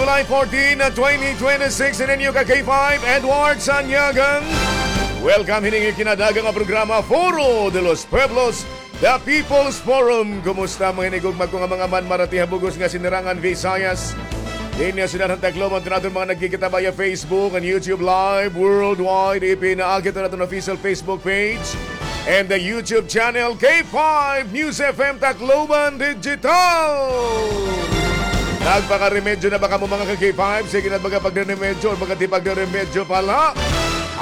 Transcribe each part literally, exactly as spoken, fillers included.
July fourteen, twenty twenty-six, ini an iyo ka K five, Edward Sanyagan. Welcome hini nga ikinadaga nga programa, Foro de los Pueblos, The People's Forum. Kumusta, mga hinigugma ko nga mga manmarati ha bug-os nga Sinirangan Visayas? Dinhi ha syudad han Tacloban, han aton mga nagkikita via Facebook and YouTube Live worldwide, ipinaagi han aton official Facebook page and the YouTube channel, K five News F M Tacloban Digital. Nagpakaremedyo na ba kamo, mga ka-K five? Sige na, baga pagdaremedyo or baga di pagdaremedyo pala.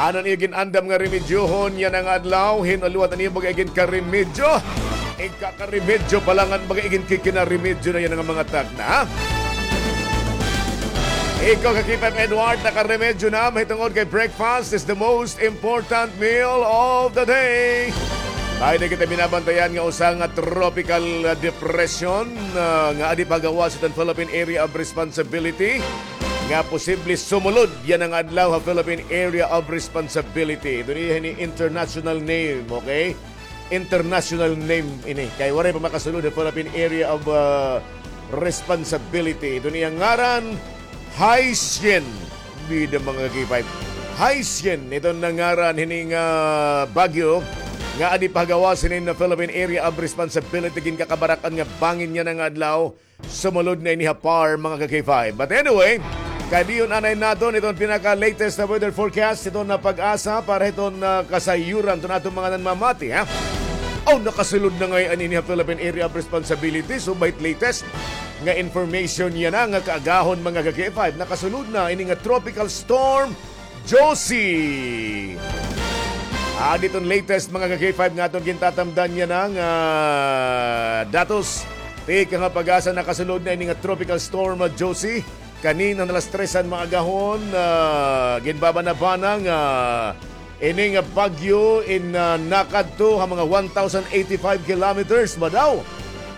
Ano an iyo gin-andam nga remedyohon yana nga adlaw? Hin-o liwat an iyo baga iginkaremedyo? Igkakaremedyo pala ngan baga iginkikinarimedyo na yana nga mga tagna, ha? Ikaw, ka-K five Edward, nakaremedyo na, mahitungod kay breakfast is the most important meal of the day. May na kita binabantayan nga usa nga tropical, ah, depression, ah, nga adi pa gawas hiton Philippine Area of Responsibility nga posible sumulod yana nga adlaw ha Philippine Area of Responsibility. Ito niya ini international name, okay? International name ini. Kay waray pa makasulod ha Philippine Area of, ah, Responsibility. Ito niya ngaran, Haisien. Bida, mga ka-K five. Haisien, ito na ngaran hini nga bagyo nga adi pa gawas hini nga Philippine Area of Responsibility, ginkakabarak-an nga bangin yana nga adlaw. Sumulod na ini ha PAR, mga ka-K five. But anyway, kadiyon anay naton iton pinaka-latest na weather forecast, iton na PAGASA para hiton, ah, kasayuran hiton aton mga nanmamati, ha? Aw, nakasulod na ngay-an ini ha Philippine Area of Responsibility. So, by latest nga information yana nga kaagahon, mga ka-K five, nakasulod na ini nga Tropical Storm Josie. Ah, diton latest, mga ka-K five, nga aton gintatamdan yana nga datos. Tikang ha PAGASA, nakasulod na ini nga Tropical Storm, ah, Josie. Kanina alas tres han maagahon, ah, ginbabanabana nga ini nga bagyo in, ah, nakadto ha mga one thousand eighty-five kilometers ba daw?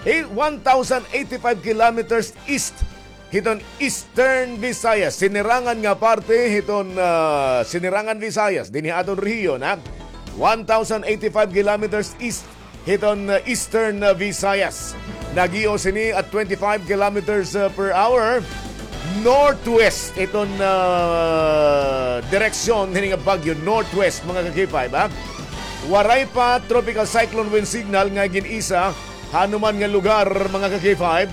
Eh, one thousand eighty-five kilometers east hiton Eastern Visayas, sinirangan nga parte hiton, ah, Sinirangan Visayas, dinhi ha aton rehiyon, ha? One thousand eighty-five kilometers east hiton, ah, Eastern, ah, Visayas. Nag-ios ini at twenty-five kilometers, ah, per hour northwest hiton, ah, direksyon hini nga bagyo, northwest, mga ka-K five, ha? Waray pa tropical cyclone wind signal nga gin-isa ha anuman nga lugar, mga ka-K five,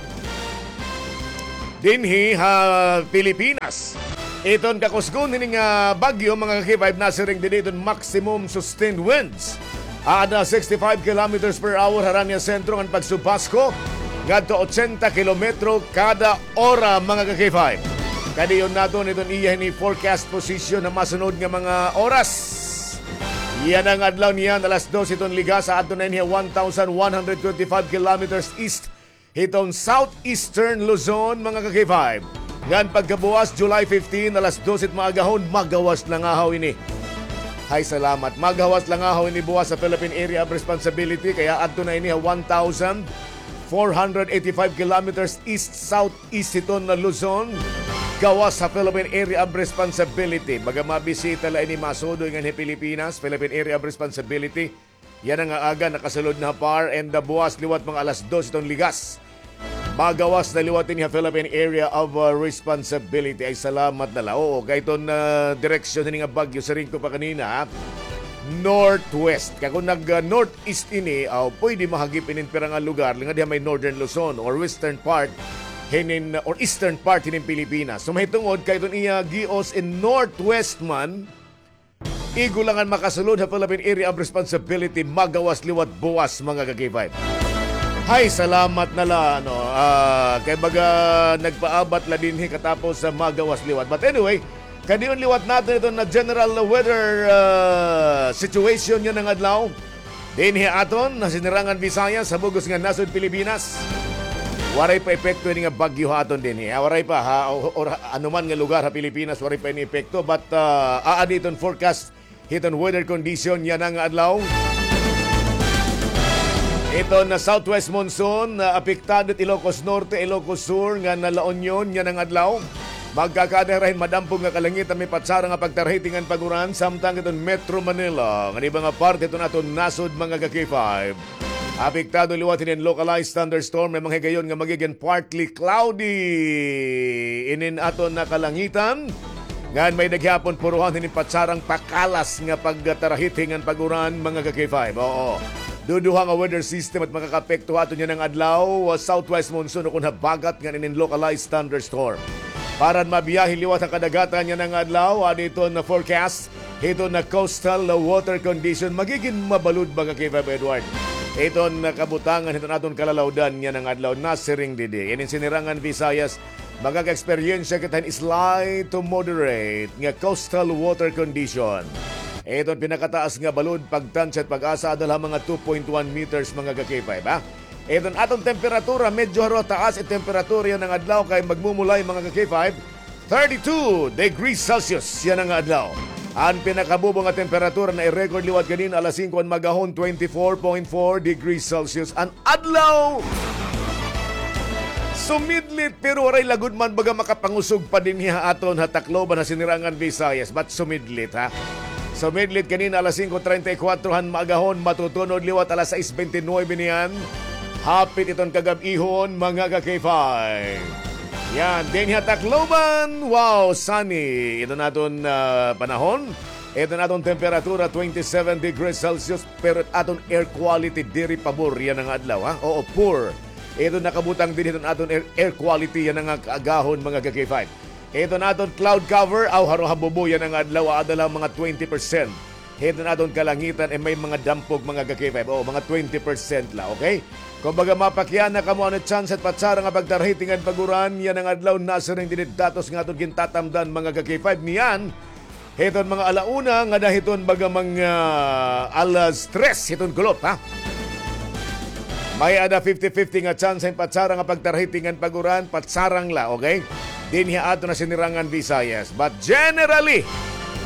dinhi ha Pilipinas. Iton kakusgon hini nga bagyo, mga ka-K five, nasiring dinhi iton maximum sustained winds. Aada sixty-five kilometers per hour harani ha sentro ngan pagsubasko ngadto ochenta kilometro kada ora, mga ka-K five. Kadiyon naton iton iya hini forecast position ha masunod nga mga oras. Yana nga adlaw niyan, alas dos iton ligas, aadto na ini ha one thousand one hundred twenty-five kilometers east hiton southeastern Luzon, mga ka-K five. Ngan pagkabuwas, July fifteen, alas dos it maagahon, magawas langahaw ini. Hay salamat. Magawas langahaw ini buwas ha Philippine Area of Responsibility, kay aadto na ini ha one thousand four hundred eighty-five kilometers east-southeast hiton Luzon. Gawas ha Philippine Area of Responsibility. Baga mabisita la ini, masudoy nganhi Pilipinas, Philippine Area of Responsibility. Yana nga aga nakasulod na ha PAR and, ah, buwas liwat mga alas dos iton ligas, magawas na liwat ini ha Philippine Area of, ah, Responsibility. Ay, salamat na la. Oo, kay iton, ah, direksyon hini nga bagyo, siring ko pa kanina, ha? Northwest. Kay kon nag, ah, northeast ini, aw, pwede mahagip inin pira nga lugar, ngadi ha may northern Luzon or western part hinin, or eastern part hinin Pilipinas. So, mahitungod kay iton iya gios in northwest man, igo la ngan makasulod ha Philippine Area of Responsibility, magawas liwat buwas, mga ka-K five. Hay, salamat na la, no? Ah, kay baga nagpaabat la dinhi katapos sa magawas liwat. But anyway, kadiyon liwat naton iton na general weather, ah, situation yana nga adlaw. Dinhi aton ha Sinirangan Visayas, ha bug-os nga nasod Pilipinas. Waray pa epekto ini nga bagyo ha aton dinhi, ha? Waray pa, ha? O, or ha anuman nga lugar ha Pilipinas, waray pa ini epekto. But, ah, aadi iton forecast hiton weather condition yana nga adlaw. Iton na southwest monsoon, ah, apektado it Ilocos Norte, Ilocos Sur, ngan na La Union yana nga adlaw. Magkakaada hira hin madampog nga kalangitan, may patsara nga pagtarhiti ngan pag-uran, samtang iton Metro Manila ngan iba nga parte hiton aton nasod, mga ka-K five. Apektado liwat hinin localized thunderstorm, may mga higayon nga magigin partly cloudy inin aton nga kalangitan. Ngan may-ada gihapon puruhan hinin patsarang pakalas nga pagtarahit ngan pag-uran, mga ka-K five. Oo. Duduha nga weather system it makakaapekto ha aton yana nga adlaw, ah, southwest monsoon o kon habagat ngan inin localized thunderstorm. Para han mabiyahe liwat ha kadagatan yana nga adlaw, adi iton forecast hiton coastal water condition, magigin mabalod, mga ka-K five Edward. Iton kabutangan hiton aton kalalawdan yana nga adlaw, nasiring didi. Inin Sinirangan Visayas, makaka-eksperyensya kita hin slight to moderate nga coastal water condition. Iton pinakataas nga balod, pagtansya it pag-asa, ada la ha mga two point one meters, mga ka-K five, ha? Iton aton temperatura, medyo haro taas it temperatura yana nga adlaw kay magmumulay, mga ka-K five, thirty-two degrees Celsius yana nga adlaw. An pinakabubo nga temperatura na-record liwat ganina alas singko han maagahon, twenty-four point four degrees Celsius. An adlaw sumidlit, pero waray la gud man baga makapangusog pa dinhi ha aton ha Tacloban, ha Sinirangan Visayas. But sumidlit, ha? Sumidlit ganina alas singko treinta y cuatro han maagahon, matutunod liwat alas sais bente nuebe niyan. Hapit iton kagab-ihon, mga ka-K five. Yan, dinhi ha Tacloban, wow, sunny iton aton, ah, panahon. Iton aton temperatura, twenty-seven degrees Celsius, pero aton air quality diri pabor yana nga adlaw, ha? Oo, poor. Iton nakabutang dinhi iton aton air, air quality yana nga kaagahon, mga ka-K five. Iton aton cloud cover, aw, haro ha bubo yana nga adlaw, ada la mga twenty percent. Iton aton kalangitan, eh, may mga dampog, mga ka-K five. Oo, mga twenty percent la, okay? Kumbaga, mapakiana kamo ano tsansa it patsarang nga pagtarahit ngan pag-uran yana nga adlaw, nasiring didi datos nga aton gintatamdan, mga ka-K five. Niyan, hiton mga ala una ngada hiton baga mga alas tres hiton kulop, ha? May-ada fifty fifty nga tsansa hin patsarang nga pagtarahit ngan pag-uran, patsarang la, okay? Dinhi ha aton nga Sinirangan Visayas. But generally,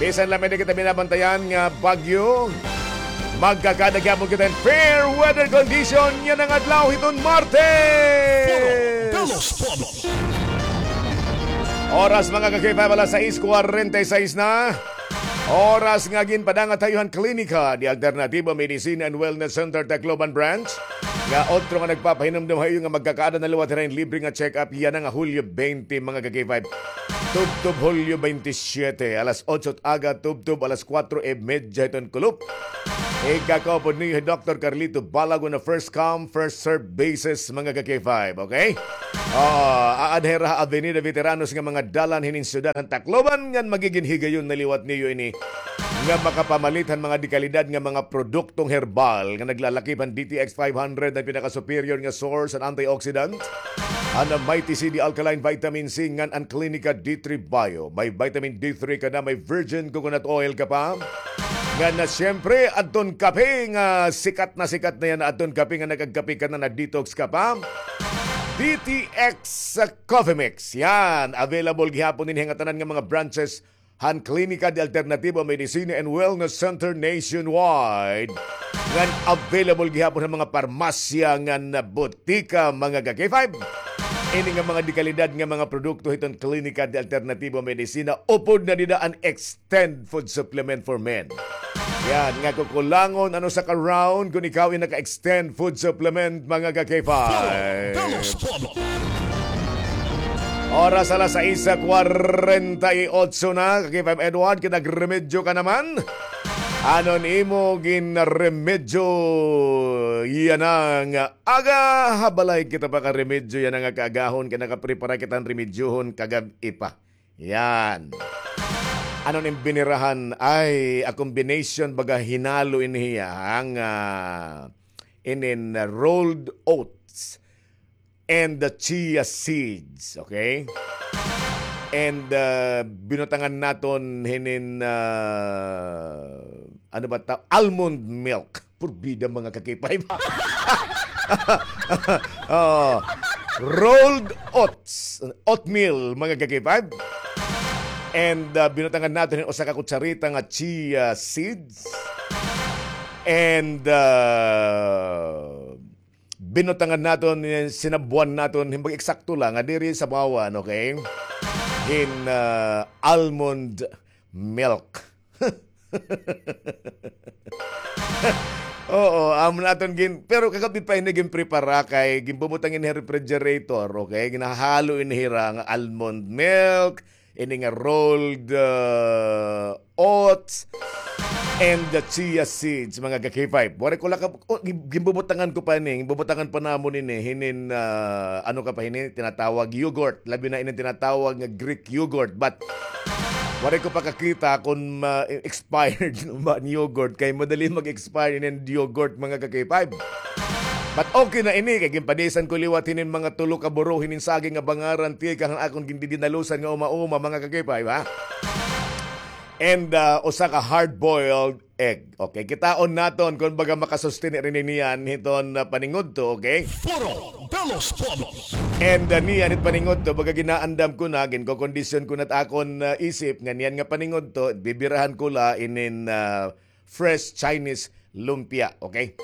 bisan la may-ada kita binabantayan nga bagyo, magkakaada gihapon kita hin fair weather condition yana nga adlaw hiton Martes. Foro de los Pueblos. Oras, mga ka-K five, alas sais kwarenta y sais na. Oras nga ginpadangat ha iyo han Klinika de Alternatibo Medicina and Wellness Center Tacloban Branch, nga otro nga nagpapahinumdom ha iyo nga magkakaada na liwat hira hin libre nga check-up yana nga Hulyo bente, mga ka-K five. Tubtob Hulyo bente siyete, alas otso it aga, tubtob alas kwatro y medya hiton kulop. Igkakaupod niyo hi Doktor Carlito Balagon na first come, first serve basis, mga ka-K five, okay? Oo, aada hira ha Avenida Veteranos nga mga dalan hinin syudad han Tacloban, ngan magigin higayon na liwat niyo ini nga makapamalit han mga dekalidad nga mga produktong herbal nga naglalakip han D T X five hundred, an pinaka-superior nga source han antioxidant, an Mighty C D Alkaline Vitamin C, ngan an Klinika D three Bio. May vitamin D three ka na, may virgin coconut oil ka pa. Ngan na, siyempre, adton kape nga sikat na sikat na yana, adton kape nga nakagkape ka na, na-detox ka pa. D T X Coffee Mix. Yan, available gihapon dinhi ha ngatanan nga mga branches han Klinika de Alternativo Medicina and Wellness Center nationwide. Ngan available gihapon han mga parmasya ngan botika, mga ka-K five. Ini nga mga dekalidad nga mga produkto hiton Klinika de Alternativo Medicina, upod na dida an Extend Food Supplement for Men. Yan, nga kukulangon an usa ka round kon ikaw in naka-Extend Food Supplement, mga ka-K five. Foro de los Pueblos. Oras alas sais kwarenta y otso na, ka-K five Edward, kinagremedyo ka naman. Ano an imo ginremedyo yana nga aga? Ha balay kita pakaremedyo yana nga kaagahon, kay nakaprepara kita hin remedyohon kagab-i pa. Yan. Ano an im binirahan? Ay, a combination baga hinalo ini hiya, ha, nga, ah, inin, ah, rolled oats and the chia seeds, okay? And, ah, binutangan naton hinin, ah, ano ba ta-, almond milk. Purbida, mga ka-K five. Oo. Rolled oats, oatmeal, mga ka-K five. And, ah, binutangan naton hin usa ka kutsarita nga chia seeds. And, ah, binutangan naton, eh, sinabwan naton, hin pag-eksakto la, nga diri sabawan, okay? Hin, ah, almond milk. Oo, amo na aton gin-, pero kagab-i pa ini ginprepara kay ginbubutang ini ha refrigerator, okay? Ginhahalo ini hira nga almond milk, ini nga rolled, uh, oats, and the chia seeds, mga ka-K five. Waray ko lakab, oh, gin-, ginbubutangan ko pa ini, ginbubutangan pa namon ini, hinin, uh, ano ka pa hini, tinatawag yogurt, labi na ini tinatawag nga Greek yogurt. But waray ko pa kakita kung ma-, expired na ba an yogurt, kay madali mag-expire ini an yogurt, mga ka-K five. But okay na ini, kay ginpanisan ko liwat hinin mga tulo ka buro hinin saging nga bangaran, tikang han akon gindidinalusan nga uma-uma, mga ka-K five, ha? And, ah, usa ka hard-boiled egg. Okay, kitaon naton kon baga makasustain ini niyan hiton, ah, paningudto, okay? Foro de los Pueblos. And, ah, niyan hit paningudto, baga ginaandam ko na, ginkokondisyon ko na it akon, ah, isip nga niyan nga paningudto, bibirahan ko la inin, ah, fresh Chinese lumpia, okay?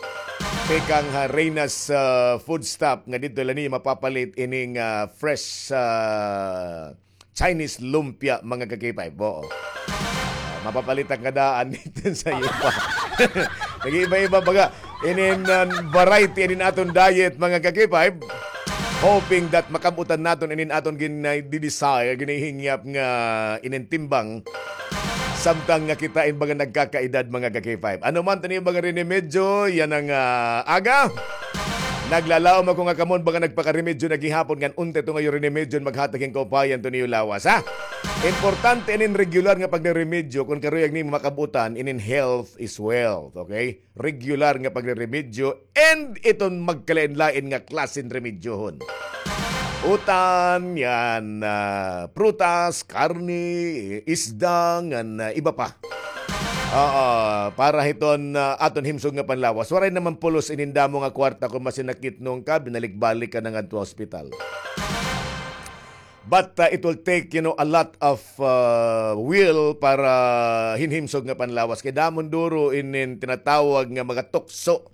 Tikang ha Reyna's, ah, Food Stop nga didto la niyo mapapalit ining, ah, fresh, ah, Chinese lumpia, mga ka-K five. Oo. Ah, mapapalit an kadaan didto sa iyo pa. Nag-iiba-iba baga inin, ah, variety inin aton diet, mga ka-K five. Hoping that makab-utan naton inin aton gin-, ah, di-desire, ginahihingyap nga inin timbang. Samtang nga kita in baga nagkakaedad, mga ka-K five. Ano man tani baga rinimedyo, yana nga, ah, aga. Naglalaom ako nga kamo in baga nagpakaremedyo na gihapon ngan unta ito nga iyo rinimedyo maghatag hin kaupayan to niyo lawas, ha? Importante inin regular nga pagre-remedyo kon karuyag nimo makab-utan inin health is wealth, okay? Regular nga pagre-remedyo and iton magkalain-lain nga klase hin remedyohon. Utan, yana, ah, prutas, karne, isda, ngan, ah, iba pa. Oo, para hiton, ah, aton himsog nga panlawas. Waray naman pulos inin damo nga kwarta kon masinakit nung ka, binalik-balik ka na ngadto ha ospital. But, uh, it will take, you know, a lot of, uh, will para hin himsog nga panlawas. Kay damo duro inin tinatawag nga mga tukso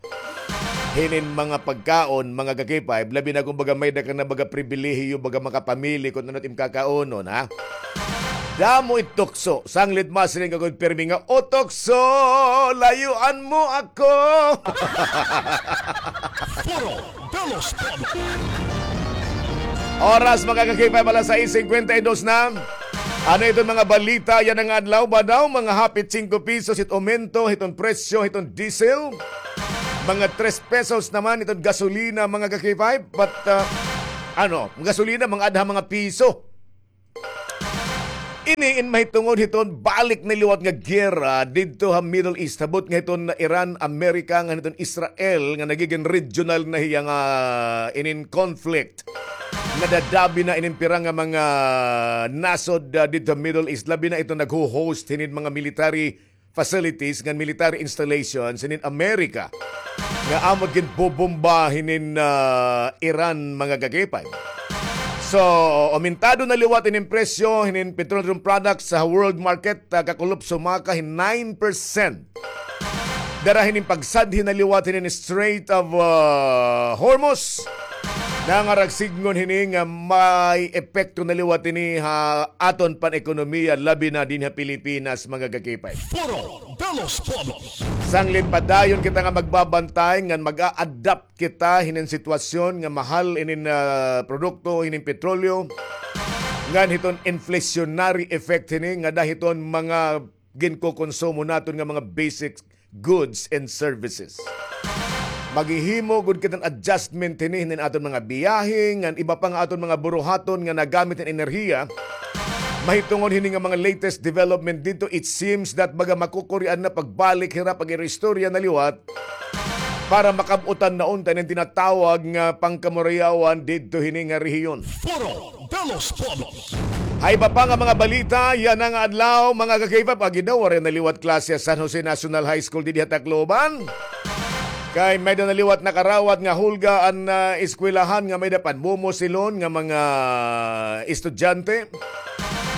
hinin mga pagkaon, mga ka-K five, labi na kon baga may-ada ka na baga pribilehiyo, baga makapamili kon ano it im kakaunon, ha? Damo it tukso. Sanglit masiring ka gud pirmi nga, "O tukso, layuan mo ako." Foro de los Pueblos. Oras, mga ka-K five, alas sais singkwenta y dos na. Ano iton mga balita yana nga adlaw? Ba daw mga hapit singko pisos it aumento hiton presyo hiton diesel? Mga tres pesos naman iton gasolina, mga ka-K five. But, uh, ano, gasolina, mga adha, mga piso. Ini in mahitungod hiton balik na liwat nga giyera didto ha Middle East. Habot nga hiton Iran, Amerika, ngan hiton Israel nga nagigin regional na hiya nga inin conflict. Nadadabi na inin pira nga mga nasod, ah, didto ha Middle East. Labi na iton nagho-host hinin mga military facilities ngan military installations hinin Amerika nga amo ginbobomba hinin, ah, Iran, mga ka-K five. So, aumentado na liwat inin presyo hinin petroleum products sa world market, ah, kakulop sumaka hin nine percent. Dara hinin pagsadhi na liwat hinin Strait of, ah, Hormuz. Nangaragsidngon hini nga may epekto na liwat ini ha aton pan-ekonomiya, labi na dinhi ha Pilipinas, mga ka-K five. Foro de los Pueblos. Sanglit padayon kita nga magbabantay ngan mag-a-adapt kita hinin sitwasyon nga mahal inin, ah, produkto, hinin petrolyo, ngan hiton inflationary effect hini nga dara hiton mga ginkokonsumo naton nga mga basic goods and services. Maghihimo gud kita hin adjustment hini, hinin aton mga biyahe, ngan iba pa nga aton mga buruhaton nga nagamit hin enerhiya. Mahitungod hini nga mga latest development didto, it seems that baga makukurian na pagbalik hira, pag-iristorya na liwat para makab-utan na unta inin tinatawag nga pangkamurayawan didto hini nga rehiyon. Foro de los Pueblos. Ha iba pa nga mga balita yana nga adlaw, mga ka-K five, agi daw waray na liwat klase ha San Jose National High School didi ha Tacloban. Kay may-ada na liwat nakarawat nga hulga an, ah, eskwelahan nga may-ada panmumosilon nga mga estudyante.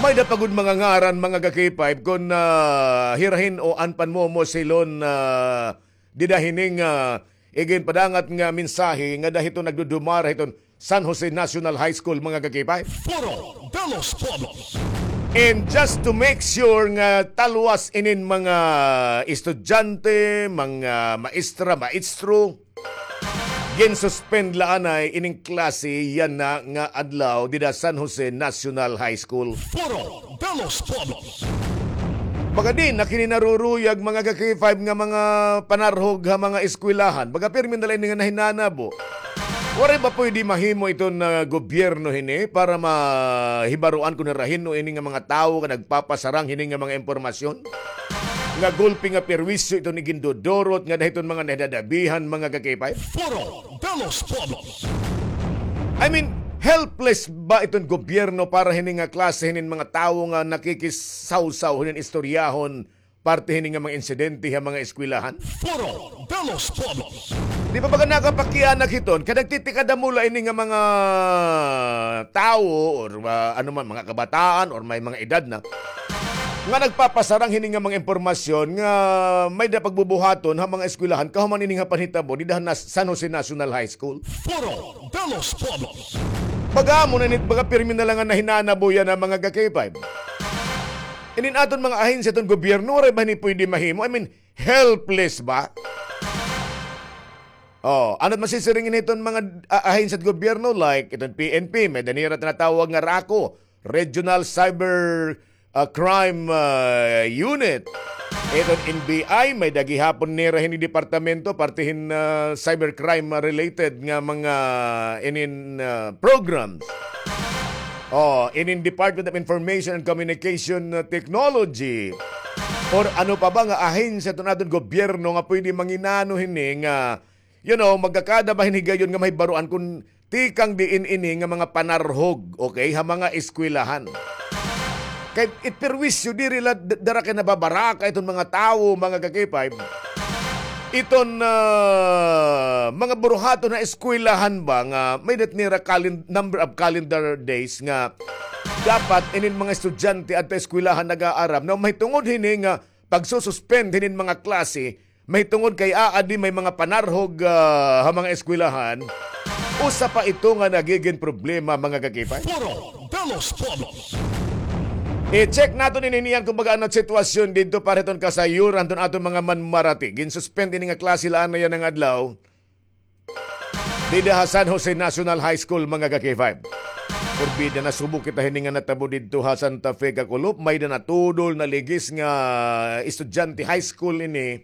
May-ada pa gud mga ngaran, mga ka-K five, kon, ah, hira hin-o an panmumosilon, ah, dida hini nga, ah, iginpadangat nga mensahe nga dara hiton nagdudumara hiton San Jose National High School, mga ka-K five. Foro de los Pueblos. And just to make sure nga talwas inin mga estudyante, mga maestra, maestro, ginsuspend la anay ining klase yana nga adlaw dida San Jose National High School. Foro de los Pueblos. Baga di na kini naruruyag, mga ka-K five, nga mga panarhog ha mga eskwelahan. Baga pirmi na la ini nga nahinanabo. Waray ba pwede mahimo iton, ah, gobyerno hini para mahibaroan kon hira hin-o ini nga mga tawo nga nagpapasarang hini nga mga impormasyon? Nga gulpi nga perwisyo iton igindudurot nga dida hiton mga nahidadabihan, mga ka-K five? Foro de los Pueblos. I mean, helpless ba iton gobyerno para hini nga klase hinin mga tawo nga nakikisawsaw hinin istoryahon parte hini nga mga insidente ha mga eskwelahan? Foro de los Pueblos. Di pa ba ka nakapakianak hiton? Kay nagtitikada mo la ini nga mga tawo or, ah, ano man, mga kabataan or may mga edad na nga nagpapasarang hini nga mga impormasyon nga may-ada pagbubuhaton ha mga eskwelahan kahuman ini nga panhitabo dida ha Nas-, San Jose National High School. Foro de los Pueblos. Baga amo na ini, baga pirmi na la nga nahinanabo yana, mga ka-K five. Inin aton mga ahensya hiton gobyerno, waray ba hini pwede mahimo? I mean, helpless ba? Oh, ano it masisiring ini hiton mga, ah, ahensya hit gobyerno, like iton P N P, may-ada nira tinatawag nga RACU, Regional Cyber, ah, Crime, ah, Unit. Iton N B I, may-ada gihapon nira hini departamento parte hin, ah, cybercrime, ah, related nga mga inin, ah, programs. Oh, inin Department of Information and Communication, uh, Technology. Or ano pa ba nga ahensya hiton aton gobyerno nga pwede manginano hini nga, you know, magkakada ba hin higayon nga mahibaroan kon tikang diin ini nga mga panarhog, okay, ha mga eskwelahan. Kay it perwisyo diri la d-, dara kay nababaraka iton mga tawo, mga ka-K five. Iton, ah, mga buruhaton ha eskwelahan ba nga may-ada nira calen-, number of calendar days nga dapat inin mga estudyante adto eskwelahan nag-aaram, na mahitungod hini nga pagsususpend hinin mga klase, mahitungod kay aadi may mga panarhog, ah, ha mga eskwelahan, usa pa ito nga nagigin problema, mga ka-K five. Foro de los Pueblos. I-check naton ini niyan kon baga ano it sitwasyon didto para hiton kasayuran hiton aton mga manmarati. Ginsuspend ini nga klase la anay yana nga adlaw dida ha San Jose National High School, mga ka-K five. Porbida, nasubo kita hini nga natabo didto ha Santa Fe, Kakulop. May-ada natudol, naligis nga estudyante high school ini.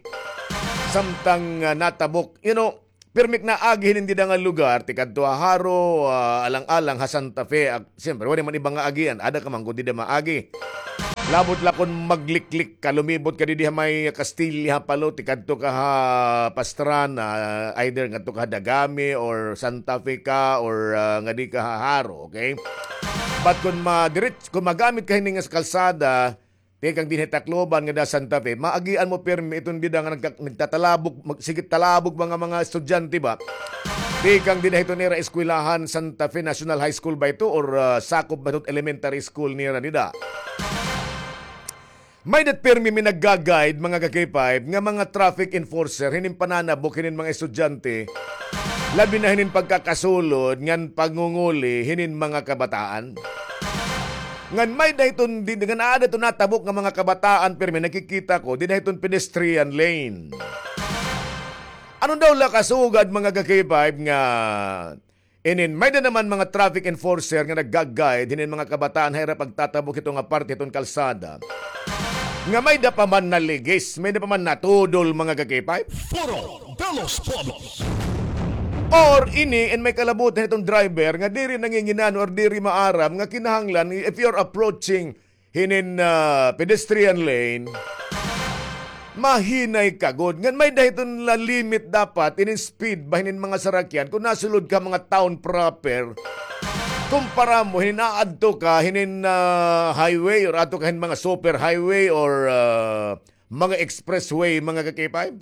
Samtang, ah, natabok, you know, pirmi ak naagi hinin dida nga lugar, tikadto ha Jaro, ah, alang-alang ha Santa Fe. Ak-, siyempre, waray man iba nga agian. Ada ka man kon dida maagi. Labot la kon magliklik ka, lumibot ka didi ha may Castilla, ha Palo, tikadto ka ha Pastrana, either ngadto ka ha Dagami or Santa Fe ka or, ah, ngadi ka ha Jaro, okay? But kon madirets-, kon magamit ka hini nga kalsada, tikang dinhi Tacloban ngada Santa Fe, maagian mo pirmi iton dida nga nagka-, nagtatalabok, mag-, sige talabok mga, mga estudyante ba? Tikang dinhi hiton ira eskwelahan, Santa Fe National High School ba ito or, ah, sakop ba ito elementary school nira dida? May-ada pirmi mi nagga-guide, mga ka-K five, nga mga traffic enforcer hinin pananabok hinin mga estudyante, labi na hinin pagkakasulod ngan pangunguli hinin mga kabataan. Ngan may-ada hiton, di, ngan aada hiton natabok nga mga kabataan, pirmi nakikita ko, dida hiton pedestrian lane. Ano daw la kasugad, mga ka-K five, nga inin, may-ada naman mga traffic enforcer nga nagga-guide hinin mga kabataan ha ira pagtatabok hito nga parte hiton kalsada. Nga may-ada pa man naligis, may-ada pa man natudol, mga ka-K five. Foro de los Pueblos. Or ini, in may kalabutan hiton driver nga diri nanginginano or diri maaram nga kinahanglan, if you're approaching hinin, ah, pedestrian lane, mahinay ka gud. Ngan may-ada hiton la limit dapat inin speed ba hinin mga sarakyan kon nasulod ka mga town proper. Kumpara mo hinin aadto ka hinin, ah, highway or aadto ka hin mga super highway or, ah, mga expressway, mga ka-K five.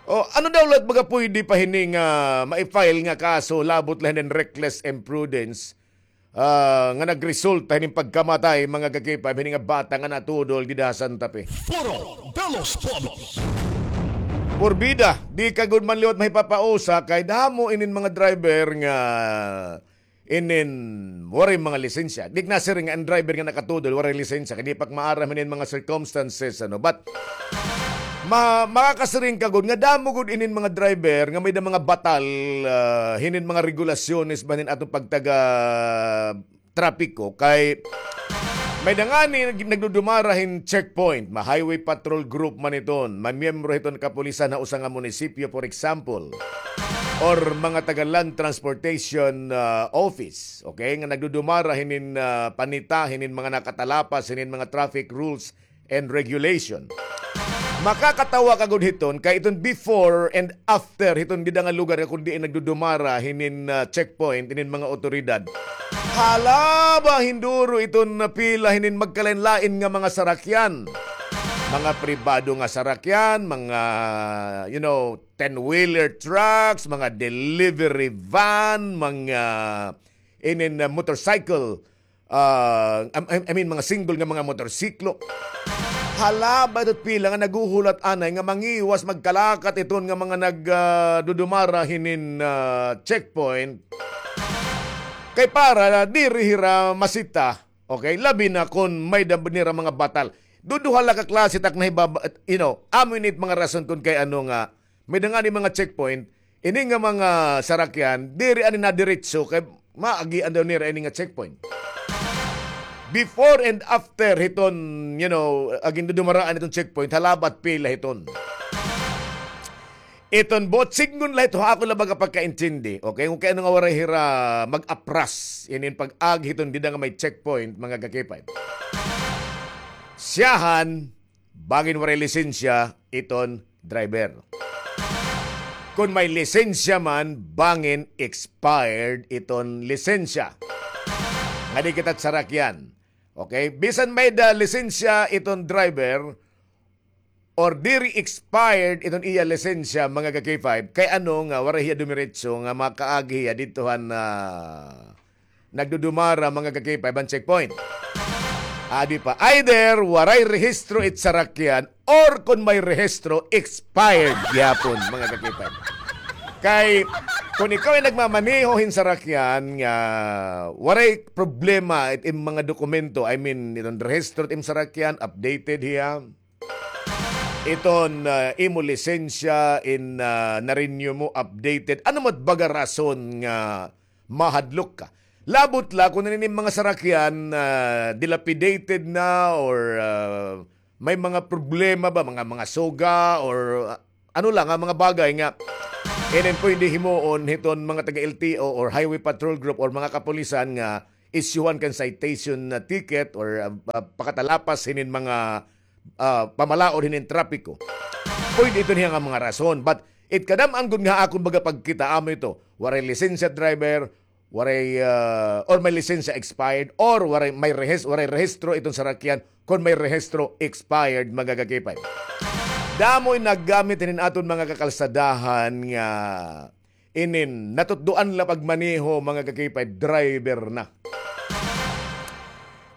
O, ano daw la it baga pwede pa hini nga mai-file nga kaso labot la hinin reckless imprudence? Ah, nga nagresulta hinin pagkamatay, mga ka-K five, hini nga bata nga natudol dida ha Santa Fe. Foro de los Pueblos. Porbida, di ka gud man liwat mahipapausa kay damo inin mga driver nga inin waray mga lisensya. Di nasiring nga an driver nga nakatudol, waray lisensya. Kay di pa maaram hinin mga circumstances, ano. But, ma-, makakasiring ka gud nga damo gud inin mga driver nga may-ada mga batal, ah, hinin mga regulasyones ba hinin aton pagtaga trapiko. Kay may-ada ngani nag-, nagdudumara hin checkpoint, ma-highway patrol group man iton, mamiyembro hiton kapulisan ha usa nga munisipyo, for example, or mga taga Land Transportation, ah, Office, okay, nga nagdudumara hinin, ah, panita hinin mga nakatalapas hinin mga traffic rules and regulation. Makakatawa ka gud hiton kay iton before and after hiton dida nga lugar nga kun diin nagdudumara hinin, ah, checkpoint hinin mga otoridad. Hala ba, hinduro iton pila hinin magkalain-lain nga mga sarakyan. Mga pribado nga sarakyan, mga, you know, ten-wheeler trucks, mga delivery van, mga inin, ah, motorcycle, ah, I, I mean, mga single nga mga motorsiklo. Hala ba ito pila nga naghuhulat anay nga mangiwas magkalakat iton nga mga nag, ah, dudumara hinin, ah, checkpoint. Kay para diri hira masita, okay? Labi na kun may-ada nira mga batal. Duduha la ka klase tak nahibaba-, you know, amo ini it mga rason kun kay ano nga may-ada ngani mga checkpoint, ini nga mga sarakyan, diri ani nadiretso, kay maagian daw nira ini nga checkpoint. Before and after hiton, you know, ah, gindudumaraan hiton checkpoint, hala ba it pila hiton. Iton buot sidngon la hito, ha ako la baga pagkaintindi, okay? Kun kay ano nga waray hira mag-apras, inin pag-agi hiton dida nga may checkpoint, mga ka-K five. Siyahan, bangin waray lisensya iton driver. Kun may lisensya man, bangin expired iton lisensya. Nga di kita sarakyan. Okay? Bisan may-ada lisensya iton driver, or diri expired iton iya lisensya, mga ka-K five, kay ano nga waray hiya dumiretso nga makaagi hiya didto han, ah, nagdudumara, mga ka-K five, han checkpoint. Abi pa, either waray rehistro it sarakyan or kun may rehistro, expired gihapon, mga ka-K five. Kay kun ikaw ay nagmamaneho hin sarakyan nga waray problema it im mga dokumento, I mean, iton rehistro it im sarakyan, updated hiya. Iton, ah, imo lisensya in, ah, na-renew mo, updated. Ano man it baga rason nga mahadlok ka? Labot la kun an imo mga sarakyan, ah, dilapidated na or, ah, may mga problema ba, mga, mga suga or, ah, ano la nga mga bagay nga inin pwede himuon hiton mga taga-L T O or Highway Patrol Group or mga kapulisan nga isyuhan kan citation na ticket or, ah, ah, pakatalapas hinin mga, ah, pamalaod hinin trapiko. Pwede iton hiya nga mga rason. But it kadam-an gud nga akon baga pagkita, amo ito. Waray lisensya driver, waray, ah, or may lisensya expired, or waray, may rehis-, waray rehistro iton sarakyan, kun may rehistro expired, mga ka-K five. Damo in naggamit hinin aton mga kakalsadahan nga inin natutdoan la pagmaneho, mga ka-K five, driver na.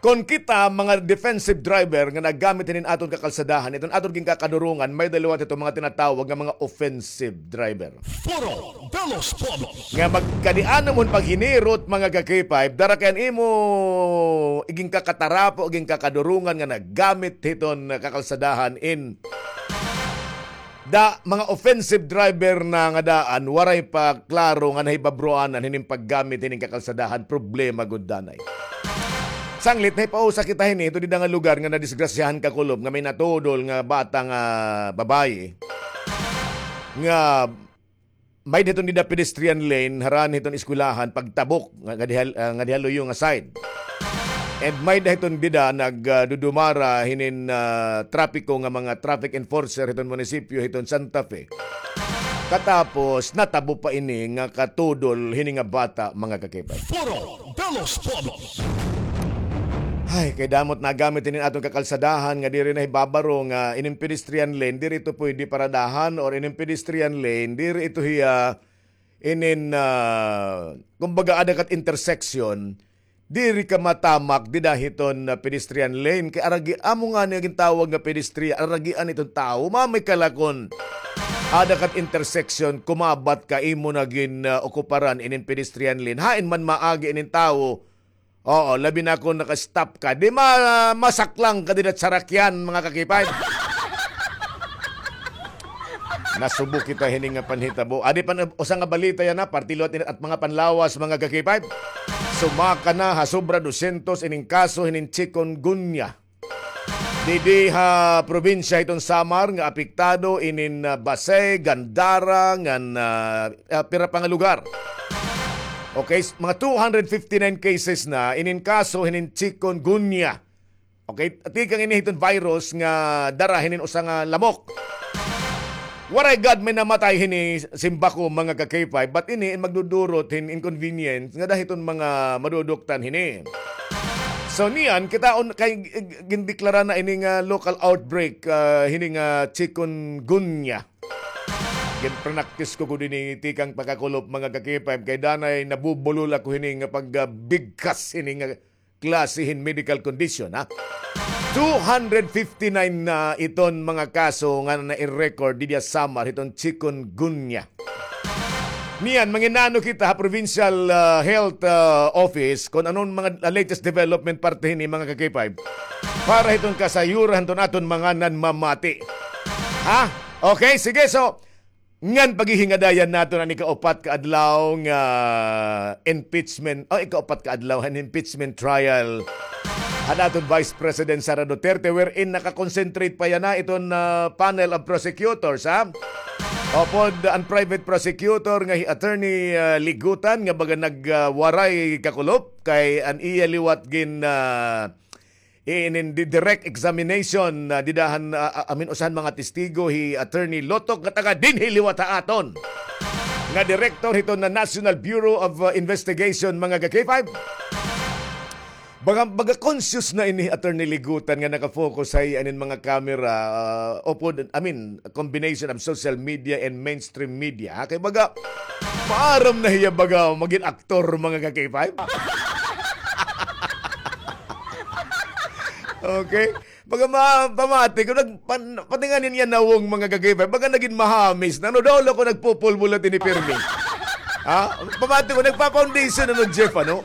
Kon kita, mga defensive driver nga naggamit hinin aton kakalsadahan, iton aton ginkakadurungan, may-ada liwat ito mga tinatawag nga mga offensive driver. Foro de los Pueblos. Nga magkadianom hon paghinirot, mga ka-K five, dara kay an imo iginkakatarapo, iginkakadurungan nga naggamit hiton kakalsadahan in da, mga offensive driver na nga daan, waray pa klaro nga nahibabroanan hinin paggamit hinin kakalsadahan, problema gud danay. Sanglit, nahipausa kita hini, ito dida nga lugar nga nadisgrasyahan kakulop nga may natudol nga bata nga babaye nga may-ada hiton dida pedestrian lane, harani hiton eskwelahan, pagtabok, nga, nga diha, ah, nga diha luyo nga side. And may-ada hiton dida nag, ah, dudumara hinin, ah, trapiko nga mga traffic enforcer hiton munisipyo hiton Santa Fe. Katapos, natabo pa ini nga katudol hini nga bata, mga ka-K five. Foro de los Pueblos. Ay, kay damo it nagamit hinin aton kakalsadahan nga diri nahibabaro nga inin pedestrian lane, diri ito pwede paradahan or inin pedestrian lane, diri ito hiya inin, ah, kumbaga, ada ka it intersection, diri ka matamak dida hiton, ah, pedestrian lane. Kay aragi, amo ngani nga gintawag nga pedestrian, aragian iton tawo, mamay kalakon. Ada ka ha intersection, kumabat ka, imo na gin, ah, okuparan inin pedestrian lane. Hain man maagi inin tawo. Oo, labi na kon naka-stop ka. Di ma-, masaklang ka dida ha sarakyan, mga ka-K five. Nasubo kita hini nga panhitabo. Adi pa na, usa nga balita yana, parte liwat ini ha mga panlawas, mga ka-K five. Sumaka na ha sobra dosyentos inin kaso hinin chikungunya. Didi ha probinsya hiton Samar nga apektado inin, ah, Basey, Gandara, ngan, ah, ah, pira pa nga lugar. Okay, s-, mga two hundred fifty-nine cases na inin kaso hinin chikungunya. Okay, tikang ini hiton virus nga dara hinin usa nga lamok. Waray gad may namatay hini, simba ko, mga ka-K five, but ini magdudurot hin inconvenience ngada hiton mga maduduktan hini. So niyan, kitaon kay, eh, gindeklara na ini nga local outbreak, ah, hini nga chikungunya. Ginpranaktis ko gud ini tikang pagkakulop, mga ka-K five, kay danay nabubulol ako hini nga pag, ah, bigkas hini nga klase hin medical condition, ha? Two hundred fifty-nine na iton mga kaso nga nai-record didi ha Samar hiton chikungunya. Niyan, manginano kita ha provincial, ah, health, ah, office kon ano an mga, ah, latest development parte hini, mga ka-K five, para hiton kasayuran hiton aton mga nanmamati. Ha? Okay, sige, so, ngan paghihingadayan naton an ikaupat ka adlaw nga impeachment, o ikaupat ka adlaw han impeachment trial han aton Vice President Sara Duterte, wherein naka-concentrate pa yana iton, ah, panel of prosecutors, ha? Upod an private prosecutor nga hi Attorney, ah, Ligutan nga baga nag, ah, waray kakulop kay an iya liwat gin, ah, inin di-, direct examination, ah, dida han, ah, ah, I mean, usa han mga testigo hi Attorney Lotok nga taga dinhi liwat ha aton nga direktor hiton nga National Bureau of, ah, Investigation, mga ka-K five. Baga, baga conscious na ini Attorney Ligutan nga naka-focus ha iya inin mga camera, ah, upod, I mean, combination of social media and mainstream media, ha? Kay baga, maaram na hiya baga magin aktor, mga ka-K five. Okay? Baga ma-, pamati ko, nag-, pan-, pati nga niyan nawong, mga ka-K five, baga nagin mahamis na, no? Daw ako nagpupulbulat ini pirmi. Ha? Pamati ko, nagpa-foundation na, no, Jeff, ano?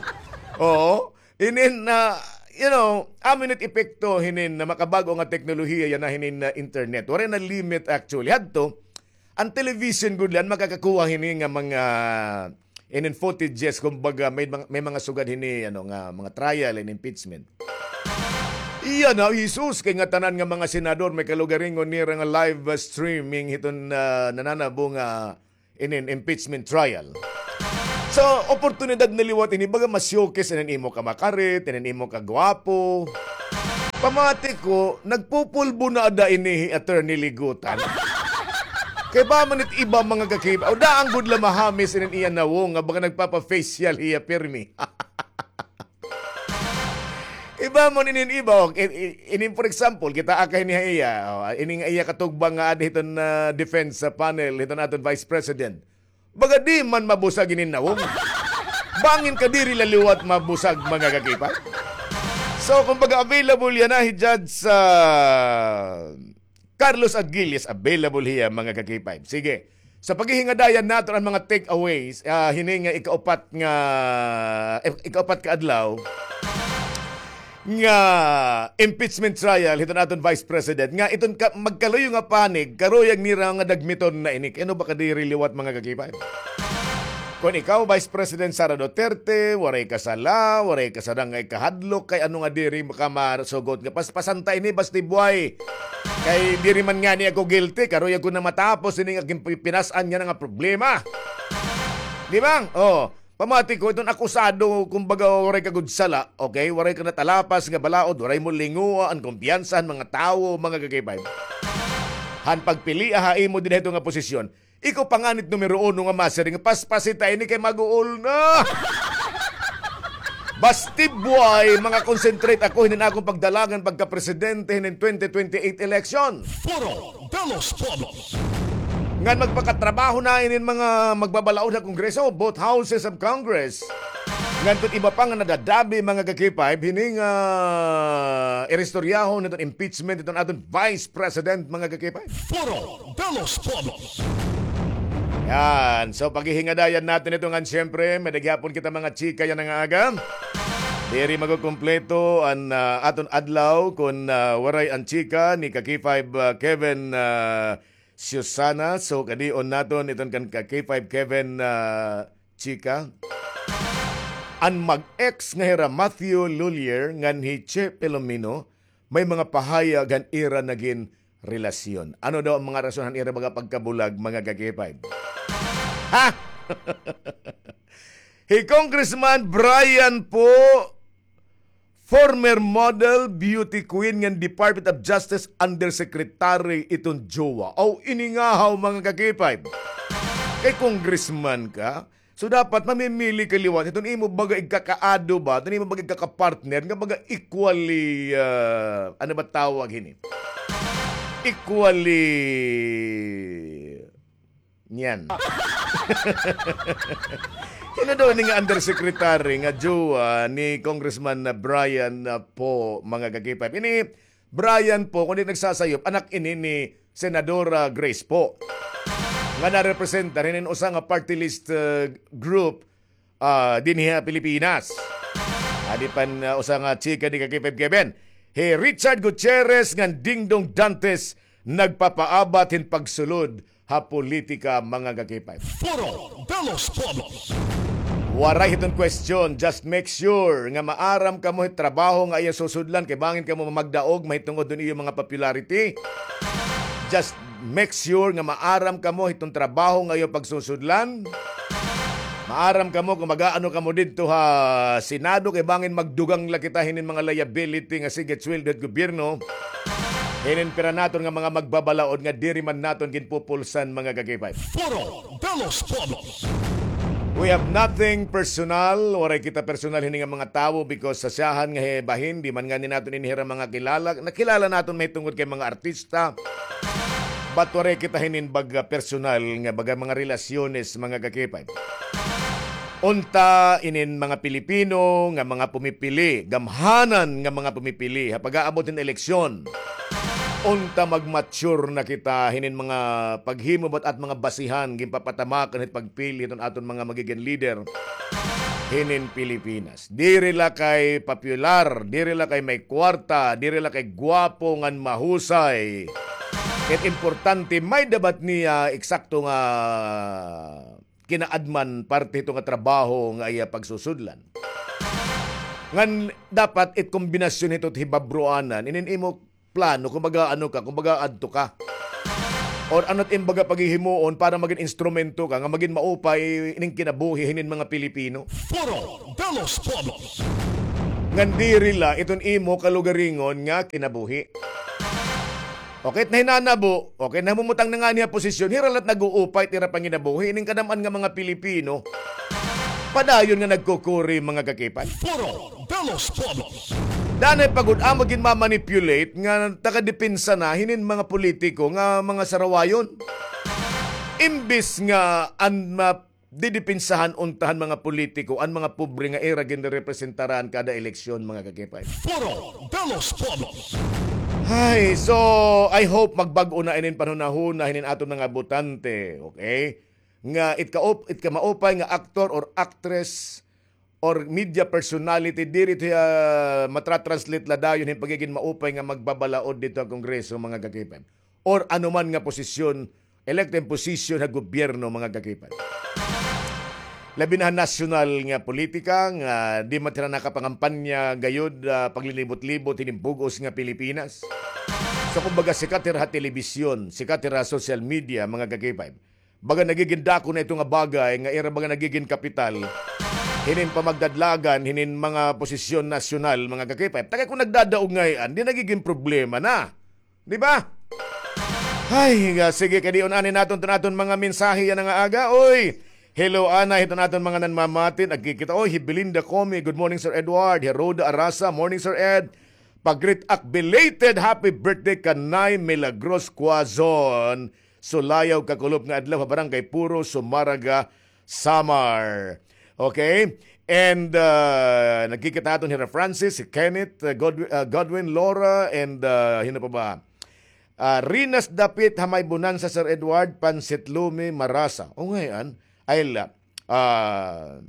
Oo. Inin, ah, you know, amo ini it epekto hinin nga makabag-o nga teknolohiya yana hinin, ah, internet. Waray na limit, actually. Hadto, an television gud la an makakakuha hini nga mga inin footages, kumbaga may mga, may mga sugad hini, ano, nga mga trial and impeachment. Iya na, Jesus, kay ngatanan nga mga senador may kalugaringon nira nga live, ah, streaming hiton, ah, nananabo nga inin impeachment trial. So, oportunidad na liwat ini, baga ma-showcase inin imo kamakarit, inin imo kagwapo. Pamati ko, nagpupulbo na ada ini hi Attorney Ligutan. Kay ba man it iba, mga ka-K five, o daan gud la mahamis inin iya nawong nga baga nagpapa-facial hiya pirmi. Iba man inin iba, o, i-, i-, inin, for example, kitaa ka hini ha iya, o, ini nga iya katugbang nga adi hiton, ah, defense, ah, panel hiton aton Vice President. Baga di man mabusag inin nawong. Bangin ka diri la liwat mabusag, mga ka-K five. So, kumbaga, available yana hi Judge, ah, Carlos Aguilles, available hiya, mga ka-K five. Sige. Sa paghihingadayan naton an mga takeaways, ah, hini nga ikaupat nga, eh, ikaupat ka adlaw nga impeachment trial hiton aton Vice President, nga iton ka-, magkaluyo nga panig, karuyag nira nga dagmiton na ini. Kay ano ba ka diri liwat, mga ka-K five? Kon ikaw, Vice President Sara Duterte, waray ka sala, waray ka sadang nga ikahadlok, kay ano nga diri ka masugot nga paspasan ta ini, basti buhay. Kay diri man ngani ako guilty, karuyag ko na matapos ini nga gin-, pinas-an yana nga problema. Di ba? Oh, pamati ko, iton akusado, kumbaga, waray ka gud sala, okay? Waray ka natalapas nga balaod, waray mo linguha an kumpiyansa han mga tawo, mga ka-K five. Han pagpilia ha imo dinhi nga posisyon, ikaw pa ngani it numero uno nga masiring, paspasi ta ini kay mag-uol na. Basti buhay, mga concentrate ako hinin akon pagdalangan pagkapresidente hinin twenty twenty-eight election. Foro de los Pueblos. Ngan magpakatrabaho na inin mga magbabalaod ha Kongreso, both houses of Congress. Nganto iba pa nga nadadabi, mga ka-K five, hini nga iristoryahon hiton impeachment hiton aton Vice President, mga ka-K five. Foro de los Pueblos. Yan. So, paghihingadayan naton ito ngan, siyempre, may da gihapon kita mga chika yana nga aga. Diri makukumpleto an, ah, aton adlaw kon, ah, waray an chika ni ka-K five, ah, Kevin, ah, Susana. So, kadion naton iton kan ka-K five Kevin, ah, chika. An mag-ex nga hira Matthew Lhuillier ngan hi Che Filomeno, may mga pahayag han ira nagin relasyon. Ano daw an mga rason han ira baga pagkabulag, mga ka-K five? Ha? Hi Congressman Brian Poe, former model, beauty queen ngan Department of Justice Undersecretary iton jowa. Aw, iningahaw, mga ka-K five. Kay congressman ka, so dapat mamimili ka liwat hiton imo baga igkakaado ba, hiton imo baga igkakapartner nga baga equally, ah, ano ba tawag hini? Equally niyan. Sino daw ini nga undersecretary nga jowa ni Congressman na Brian, ah, Poe, mga ka-K five? Ini Brian Poe, kon di nagsasayop, anak ini ni Senadora Grace Poe, nga narepresentar hinin usa nga party list, ah, group, ah, dinhi ha Pilipinas. Adi pan, ah, usa nga chika ni ka-K five Kevin. Hi Richard Gutierrez ngan Dingdong Dantes nagpapaabat hin pagsulod ha politika, mga ka-K five. Foro de los Pueblos. Waray hiton question, just make sure nga maaram kamo hit trabaho nga iya susudlan kay bangin kamo mamagdaog mahitungod hiton iyo mga popularity. Just make sure nga maaram kamo hiton trabaho nga iyo pagsusudlan. Maaram kamo kon mag-aano kamo didto ha Senado kay bangin magdugang la kita hinin mga liability nga sige sweldo hit gobyerno. Hinin pira naton nga mga magbabalaod nga diri man naton ginpupulsan, mga ka-K five. Foro de los Pueblos. We have nothing personal, waray kita personal hini nga mga tawo because sa siyahan nga hi bahin, di man ngani naton ini hira mga kilala, nakilala naton mahitungod kay mga artista. But waray kita hinin baga personal nga baga mga relasyones, mga ka-K five. Unta inin mga Pilipino nga mga pumipili, gamhanan nga mga pumipili ha pag-aabot hin eleksyon. Unta mag-mature na kita hinin mga paghimo bat at mga basihan ginpapatamakan hit pagpili hiton aton mga magigin leader hinin Pilipinas. Diri la kay popular, diri la kay may kwarta, diri la kay gwapo ngan mahusay. It importante, may-ada ba niya eksakto nga kinaadman parte hito nga trabaho nga iya pagsusudlan. Ngan dapat it kombinasyon hito hibabroanan, inin imo plano, kumbaga ano ka, kumbaga adto ka. Or ano it im baga paghihimuon para magin instrumento ka nga magin maupay ining kinabuhi hinin mga Pilipino. Foro de los Pueblos. Ngan diri la iton imo kalugaringon nga kinabuhi. Okay, nahinanabo, okay, namumutang na ngani ha posisyon, hira la it nag-uupay it ira panginabuhi, ining kadam-an nga mga Pilipino. Padayon nga nagkukuri, mga ka-K five. Foro de los Pueblos. Danay pa gud amo ginmamanipulate nga taga-depensa na hinin mga politiko nga mga sarawayon. Imbis nga an ma-, didepensahan unta han mga politiko an mga pobre nga ira ginrepresentaran kada eleksyon, mga ka-K five. Foro de los Pueblos. Ay, so, I hope magbag-o na inin panhunahuna hinin aton mga botante, okay? Nga it ka-, it kamaupay nga aktor or actress or media personality, diri ito, ah, matatranslate la dayon hin pagigin maupay nga magbabalaod didto ha Kongreso, mga ka-K five. Or anuman nga posisyon, elected position ha gobyerno, mga ka-K five. Labi na ha nasyonal nga politika nga di man hira nakapangampanya gayod, ah, paglinibot-libot hinin bug-os nga Pilipinas. So, kumbaga, sikat hira ha telebisyon, sikat hira ha social media, mga ka-K five. Baga nagigin dako na ito nga bagay nga ira baga nagigin kapital hinin pamagdadlagan hinin mga posisyon nasyonal, mga ka-K five. Ta kay kon nagdadaog ngay-an, di nagigin problema na. Di ba? Ay, nga, sige, kadion anay naton iton aton mga mensahe yana nga aga. Oy, hello anay hiton aton mga nanmamati. Nagkikita, oy, hi Belinda Comi, good morning, Sir Edward. Hi Rhoda Arasa, morning, Sir Ed. Pag-greet ak, belated happy birthday kan Nay Milagros Quazon. Sulayaw, kakulop nga adlaw ha Barangay Puro, Sumaraga, Samar. Okay? And, ah, nagkikita aton hira Francis, si Kenneth, ah, Godwin, ah, Godwin, Laura, and, ah, hino pa ba? Ah, Rinas Dapit ha may Bonanza, Sir Edward, Pansit Lumi, Marasa. O, ngay-an. Ay, la. Ah,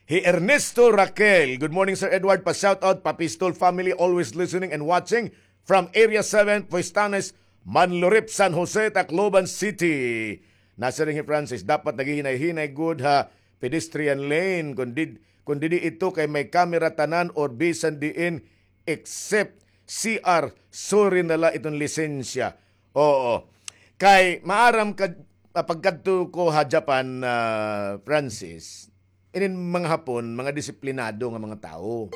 hi Ernesto Raquel. Good morning, Sir Edward. Pa-shoutout, pa-Pistol family, always listening and watching from Area seven, Puestanes, Manlurip, San Jose, Tacloban City. Nasiring hi Francis, dapat naghihinay-hinay gud ha pedestrian lane. Kung di, kung didi ito kay may camera tanan or bisan diin except C R, sorry na la iton lisensya. Oo. Kay maaram ka, ah, pagkadto ko ha Japan, ah, Francis, inin mga Hapon, mga disiplinado nga mga tawo.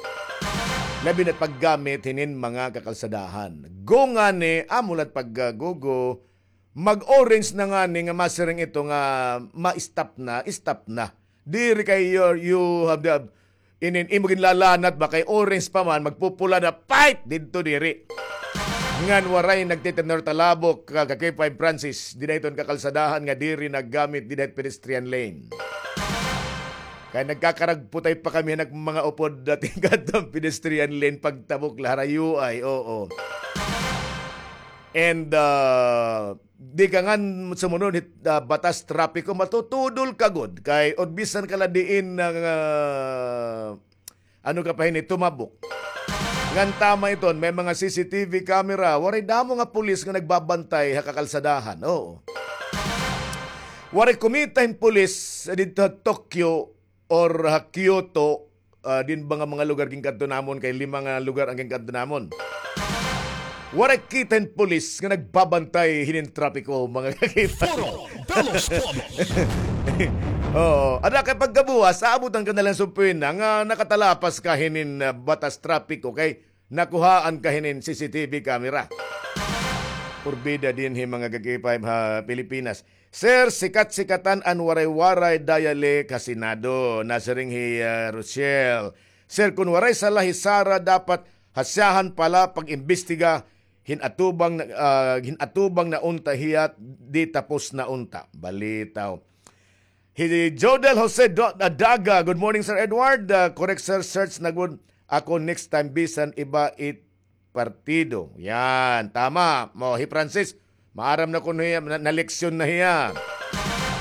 Labi na paggamit hinin mga kakalsadahan. Go ngani, amo la't paggugo, mag-orange na ngani nga masiring ito nga ma-stop na, stop na. Diri kay you, you have the, inin imo ginlalanat ba kay orange pa man, magpupula na, fight didto diri. Ngan waray nagtitender talabok, ka, ka K five Francis, dida hiton kakalsadahan nga diri naggamit dida hit pedestrian lane. Kay nagkakaragputay pa kami nag mga upod dating kadtong pedestrian lane pagtabok la harayo ay, oo. And, ah, di ka ngan sumunod hit, ah, batas trapiko, matutudol ka gud. Kay or bisan ka la diin nga, ah, ano ka pa hini, tumabok. Ngan tama iton, may mga C C T V camera, waray damo nga pulis nga nagbabantay ha kakalsadahan. Oo. Waray kumita hin pulis didto ha Tokyo or ha Kyoto, ah, din ba nga mga lugar ginkadto namon, kay lima nga lugar an ginkadto namon. Waray kita hin pulis nga nagbabantay hinin trapiko, mga kakita. Foro de los Pueblos. Oo. Ada kay pagkabuwas, aabutan ka na lang sumpuin na nga nakatalapas ka hinin, ah, batas trapiko kay nakuhaan ka hinin C C T V camera. Purbida dinhi, mga ka-K five ha Pilipinas. Sir, sikat-sikatan an waray-waray dialect ha Senado. Nasiring hi, ah, Rochelle. Sir, kun waray sala hi Sara, dapat hasyahan pa la pag-imbestiga, hin-atubang na, ah, hin-atubang na unta hiya, di tapos na unta. Balitaw. Hi Jodel Jose Do-, Daga, good morning, Sir Edward. Ah, correct, sir, search na gud ako next time, bisan iba it partido. Yan, tama. Mo, hi Francis, maaram na kuno hiya, na, naleksyon na hiya.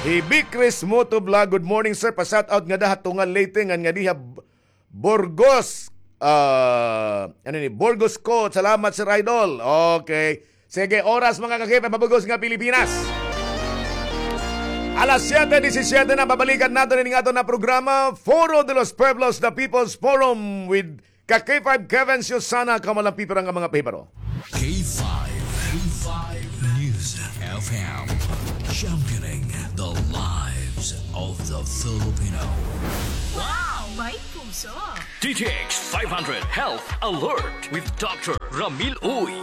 Hi Bikris Motovlog, good morning, sir. Pa-shout out ngada ha Tungal, Leyte, ngan ngadi ha B-, Burgos. Ah, ano ni? Burgos Court. Salamat, Sir Idol. Okay. Sige, oras, mga ka-K five, ha bug-os nga Pilipinas. Alas siyete disisiyete na, babalikan naton ini nga aton nga programa, Foro de los Pueblos, The People's Forum with ka-K five Kevin Susana, kamo la an pipira nga mga pahibaro. K five, K five News F M, championing the lives of the Filipino. Wow! May puso! D T X five hundred Health Alert with Doctor Ramil Uy.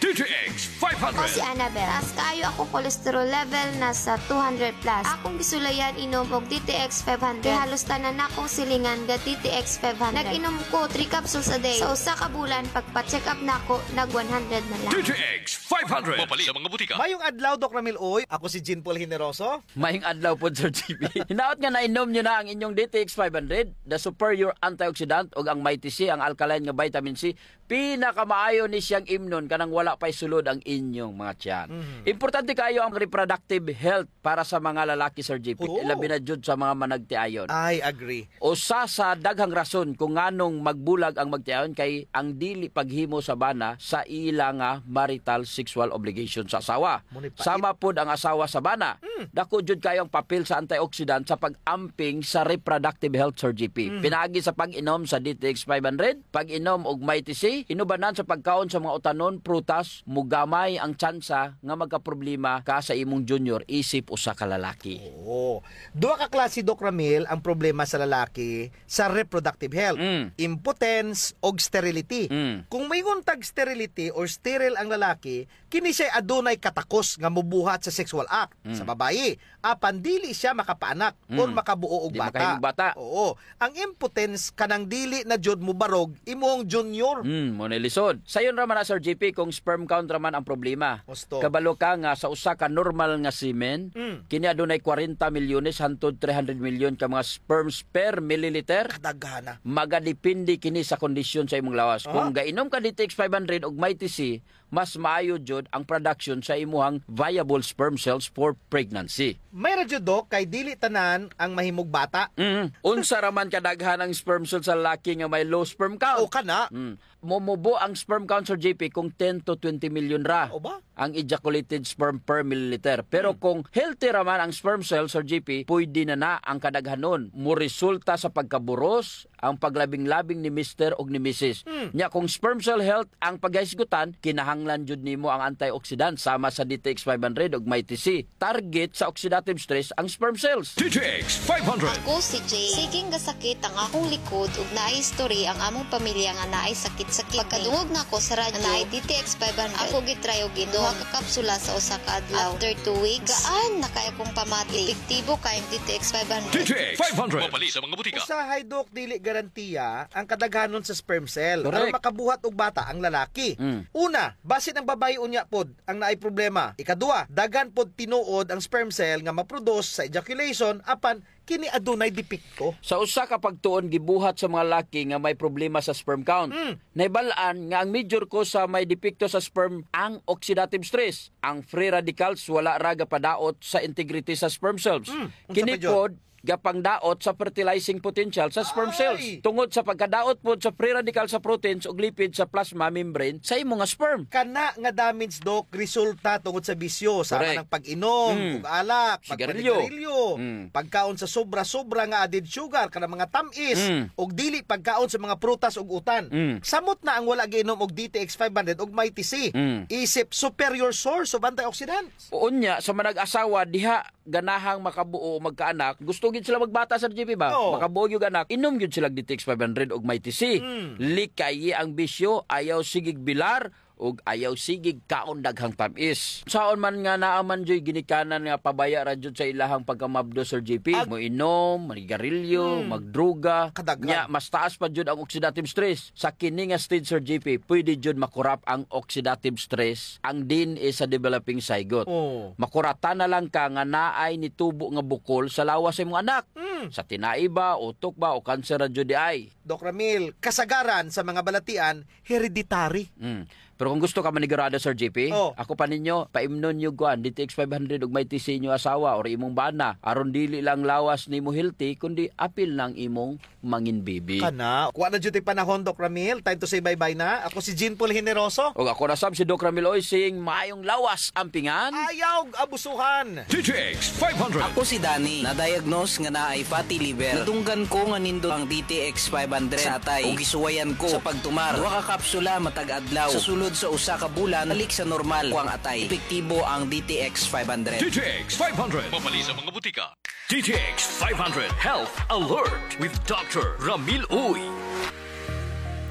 D T X five hundred. Ako si Annabel. Taas kaayo akong cholesterol level, nasa two hundred plus. Akong gisulayan inom og D T X five hundred. Kay halos tanan nakong silingan ga D T X five hundred. Nag-inom ko three capsules a day. Sa usa ka bulan, pagpa-check up nako, nag one hundred na lang. D T X five hundred. Mapalit sa mga butika. Mayong adlaw, Doc Ramil Uy. Ako si Jean Paul Generoso. Mayong adlaw pod, Sir G P. Hinaot nga nainom niyo na ang inyong D T X five hundred, the superior antioxidant, ug ang Mighty C, ang alkaline nga vitamin C. Pinakamaayo ni siyang imnon kanang wala pa'y sulod ang inyong mga tiyan. Mhm. Importante kaayo ang reproductive health para sa mga lalaki, Sir G P. Oo. Labi na jud sa mga managtiayon. I agree. Usa sa daghang rason kung nganong magbulag ang magtiayon kay ang dili paghimo sa bana sa ila nga marital sexual obligation sa asawa. Mao ni pa. Sama pod ang asawa sa bana. Hmm. Dako jud kaayo ang papel sa antioxidant sa pag-amping sa reproductive health, Sir G P. Hmm. Pinaagi sa pag-inom sa D T X five hundred, pag-inom og Mighty C, inubanan sa pagkaon sa mga utanon, prutas, mogamay ang tsansa nga magkaproblema ka sa imong junior isip usa ka lalaki. Oo. Duha ka klase, Doc Ramil, ang problema sa lalaki sa reproductive health. Mm. Impotence og sterility. Mm. Kung moingon tag sterility or sterile ang lalaki, kini siya'y adunay katakos nga mobuhat sa sexual act. Mm. Sa babayi, apan dili siya makapaanak or makabuo og bata. Di makahimog bata. Oo. Ang impotence kanang dili na jud mobarog imong junior. Mm, mao na lisod. Sayon ra man na, Sir G P, kung sperm count ra man ang problema. Husto. Kabalo ka nga sa usa ka normal nga semen, Mm. kini adunay kwarenta milyones hantod three hundred milyon ka mga sperms per milliliter. Kadaghana. Magadepende kini sa kondisyon sa imong lawas. Aha. Kung gainom ka D T X five hundred ug Mighty C, mas maayo jud ang production sa imuhang viable sperm cells for pregnancy. May ra jud, Doc, kay dili tanan ang mahimog bata. Mm. Unsa ra man kadaghan ang sperm cell sa lalaki nga may low sperm count? O, kana. Mm. Mumubo ang sperm count, Sir J P, kung ten to twenty million ra O ba? ang ejaculated sperm per milliliter. Pero Hmm. kung healthy ra man ang sperm cell, Sir J P, pwede na na ang kadaghanon. Moresulta sa pagkaburos ang paglabing-labing ni mister ug ni misis. Hmm. Nya, kung sperm cell health ang paghisgutan, kinahanglan jud nimo ang antioxidant sama sa D T X five hundred ug Mighty C. Target sa oxidative stress ang sperm cells. D T X five hundred. Ako si Jay. Siging gasakit ang akong likod ug naay history ang among pamilya nga naay sakit-sakit. Pagkadungog nako sa radyo nga naay D T X five hundred, ako gitry og inom duha ka kapsula sa usa ka adlaw. After two weeks, gaan na kay akong pamati. Epektibo kay ang D T X five hundred. D T X five hundred. Mapalit sa mga butika. Usahay, Doc, dili garantiya ang kadaghanon sa sperm cell. Correct. Aron makabuhat og bata ang lalaki. Mm. Una, basin ang babaye unya pod ang naay problema. Ikaduha, daghan pod tinuod ang sperm cell nga maproduce sa ejaculation, apan kini adunay depekto. Sa usa ka pagtuon gibuhat sa mga laki nga may problema sa sperm count. Mm. Nahibal-an nga ang major cause sa may depekto sa sperm ang oxidative stress. Ang free radicals wala ra gapadaot sa integrity sa sperm cells. Mm. Unsa pa jud? Kini pod gapangdaot sa fertilizing potential sa sperm Ay! cells. Tungod sa pagkadaot pod sa free radical sa proteins ug lipid sa plasma membrane sa imo nga sperm. Kana nga damage, Doc, resulta tungod sa bisyo, sama Correct. ng pag-inom Mm. ug alak, Sigarilyo. pagpanigarilyo, Mm. pagkaon sa sobra-sobra nga added sugar, kanang mga tam-is, Mm. ug dili pagkaon sa mga prutas ug utan. Mm. Samot na ang wala giinom og D T X five hundred ug Mighty C. Mm. Isip superior source of antioxidants. Unya, sa manag-asawa, diha ganahang makabuo o magkaanak, gusto gyud sila magbata, Sir J P, ba? Oo. Makabuo gyud anak, inom gyud sila D T X five hundred ug Mighty C. Mm. Likayi ang bisyo, ayaw sigig bilar, ug ayaw sigig kaon daghang tam-is. Saon man nga naa man juy ginikanan nga pabaya ra jud sa ilahang pagkamabdos, Sir J P. Ag- Moinom, manigarilyo, Mm. magdruga. Kadaghan. Nya, mas taas pa jud ang oxidative stress. Sa kini nga stage, Sir J P, pwede jud makurap ang oxidative stress, ang D N A sa developing zygote. Oo. Makuratan na lang ka nga naay nitubo nga bukol sa lawas sa imong anak. Mm. Sa tinai ba, utok ba, o kanser ra jud diay? Doc Ramil, kasagaran sa mga balatian, hereditary. Mm. Pero kung gusto ka manigurado, Sir J P, Oh. ako pa ninyo, paimnon niyo kuan, D T X five hundred ug Mighty C inyo asawa or imong bana. Aron dili lang lawas nimo healthy, kundi apil na ang imong mangin baby. Kana. Kuha na jud tay panahon, Doc Ramil. Time to say bye-bye na. Ako si Jean Paul Generoso. Ug ako na sab si Doc Ramil Oy, saying maayong lawas, ampingan. Ayaw abusuhan. D T X five hundred. Ako si Danny. Na-diagnose nga naay fatty liver. Nadunggan ko nga nindot ang D T X five hundred sa atay. Ug gisuwayan ko sa pagtumar duha ka kapsula matag adlaw. Sa sulod sa usa ka bulan, balik sa normal ko ang atay. Epektibo ang D T X five hundred. D T X five hundred. Mapalit sa mga butika. D T X five hundred Health Alert with Doctor Ramil Uy.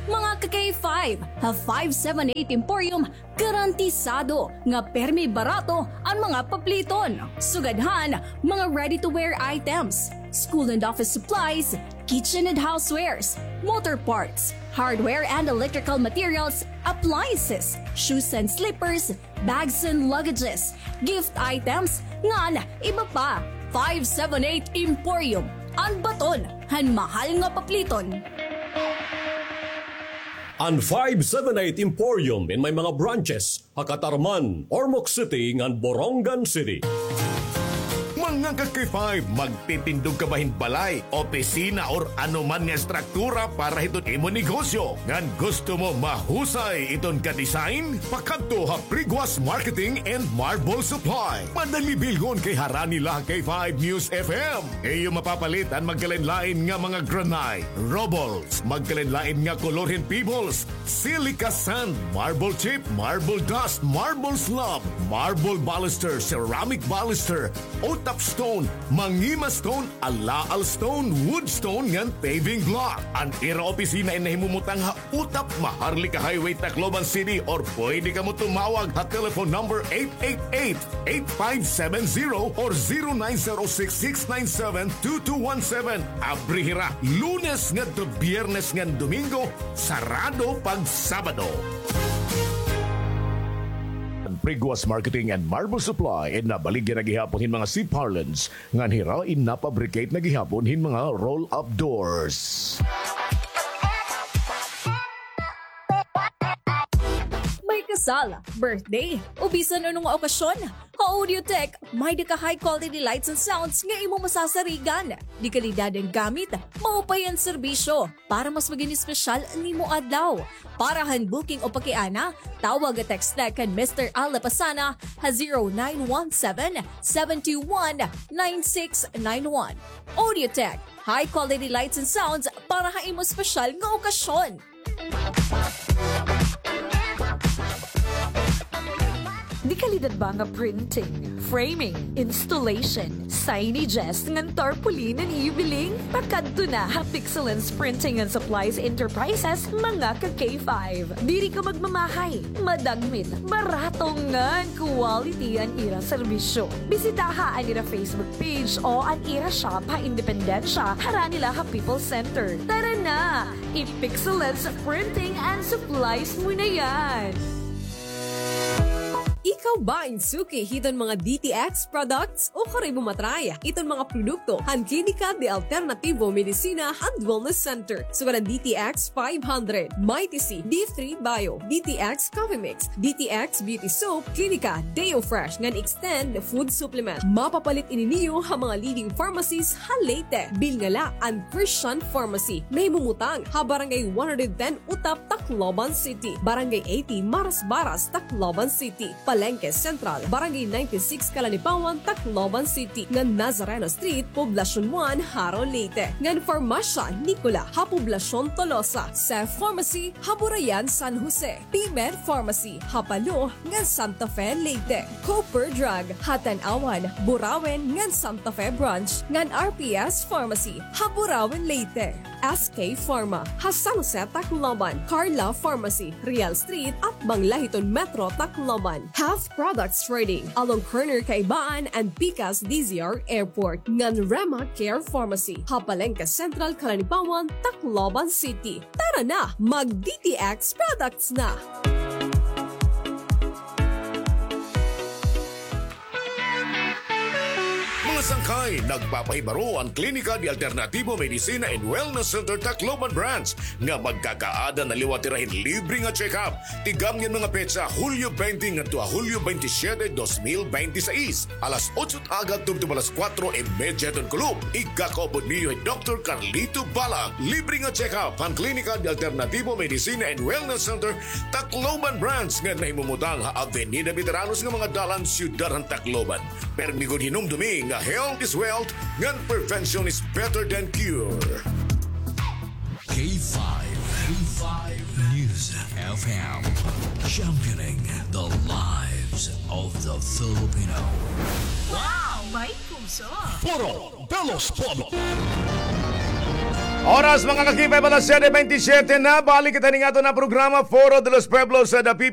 Mga ka-K five, ha five seven eight Emporium, garantisado nga permi barato an mga papliton. Sugad han mga ready-to-wear items, school and office supplies, kitchen and housewares, motor parts, hardware and electrical materials, appliances, shoes and slippers, bags and luggages, gift items, ngan iba pa. Five seven eight Emporium, an baton han mahal nga papliton. An five seven eight Emporium in may mga branches ha Catarman, Ormoc City, ngan Borongan City. Mga ka-K five, magtitindog ka ba hin balay, opisina, or ano man nga estruktura para hiton imo negosyo? Ngan gusto mo mahusay iton ka-design? Pakadto ha Priguas Marketing and Marble Supply. Madali bilhon kay harani la ha K five News F M. Iyo mapapalit an magkalain-lain nga mga granite, rubbles, magkalain-lain nga kolor hin pebbles, silica sand, marble chip, marble dust, marble slab, marble baluster, ceramic baluster, O-top stone, mangima stone, alaal stone, wood stone, ngan paving block. An ira opisina in nahimumutang ha Utap, Maharlika Highway, Tacloban City, or pwede kamo tumawag ha telephone number eight eight eight, eight five seven zero or zero nine zero six, six nine seven, two two one seven. Abri hira Lunes ngadto Biyernes ngan Domingo, sarado pag Sabado. Priguas Marketing and Marble Supply, in nabaligya na gihapon hin mga C-parlance, ngan hira in napabricate na gihapon hin mga roll-up doors. May kasal, birthday, o bisan ano nga okasyon, ha Audiotech, may-ada ka high quality lights and sounds nga imo masasarigan. De kalidad an gamit, maupay an serbisyo, para mas magin espesyal an imo adlaw. Para han booking o pakiana, tawag o text la kan Mister Al Lapasana ha zero nine one seven, seven two one, nine six nine one. Audiotech, high quality lights and sounds para ha imo espesyal nga okasyon. De kalidad ba nga printing, framing, installation, signages, ngan tarpaulin an iyo biling? Pakadto na ha Pixelance Printing and Supplies Enterprises, mga ka-K five. Diri ka magmamahay, madagmit, barato ngan quality an ira serbisyo. Bisitaha an ira Facebook page o an ira shop ha Independencia, harani la ha People's Center. Tara na! I-Pixelance Printing and Supplies mo na yan! Ikaw ba in suki hiton mga D T X products? Ukon imo ma-try iton mga produkto han Klinika de Alternativo Medicina and Wellness Center, sugad an D T X five hundred, Mighty C, D three Bio, D T X Coffee Mix, D T X Beauty Soap, Klinika Deo Fresh ngan Extend Food Supplement. Mapapalit ini niyo ha mga leading pharmacies ha Leyte. Bilnga la an Christian Pharmacy, nahimumutang ha Barangay one hundred ten Utap, Tacloban City, Barangay eighty Marasbaras, Tacloban City, Palengke Central, Barangay ninety-six Calanipawan, Tacloban City, ngan Nazareno Street, Poblacion one, Jaro, Leyte, ngan Farmasya Nicola ha Poblacion Tolosa, Seth Pharmacy ha Burayan, San Jose, P-Med Pharmacy ha Palo ngan Santa Fe, Leyte, Cooper Drug ha Tanauan, Burauen ngan Santa Fe Branch, ngan R P S Pharmacy ha Burauen, Leyte. S K Pharma ha San Jose, Tacloban, Carla Pharmacy, Real Street, atbang la hiton Metro Tacloban, Health Products Trading, along corner Kaibaan and Pikas D Z R Airport, ngan Rema Care Pharmacy ha Palengke Central, Calanipawan, Tacloban City. Tara na, mag-D T X products na! Mga sangkay, nagpapahibaro an Klinika de Alternativo Medicina and Wellness Center Tacloban Branch nga magkakaada na liwat hira hin libre nga check-up. Tigamni an mga petsa, Hulyo twenty ngadto ha Hulyo twenty-siyete, dos mil bente seis, alas otso agab tubtob alas kuwatro y medya hiton kulop. Igkakaupod niyo hi Doktor Carlito Balang. Libre nga check-up han Klinika de Alternativo Medicina and Wellness Center Tacloban Branch nga nahimumutang ha Avenida Veteranos nga mga dalan, siyudad han Tacloban. Permi gud hinumdumi nga health is wealth, ngan prevention is better than cure. K five, K five News F M, championing the lives of the Filipino. Wow! May puso! Foro de los Pueblos. Oras, mga ka-K five, alas siyete bentisiete na. Balik kita ning aton nga programa, Foro de los Pueblos, sa The P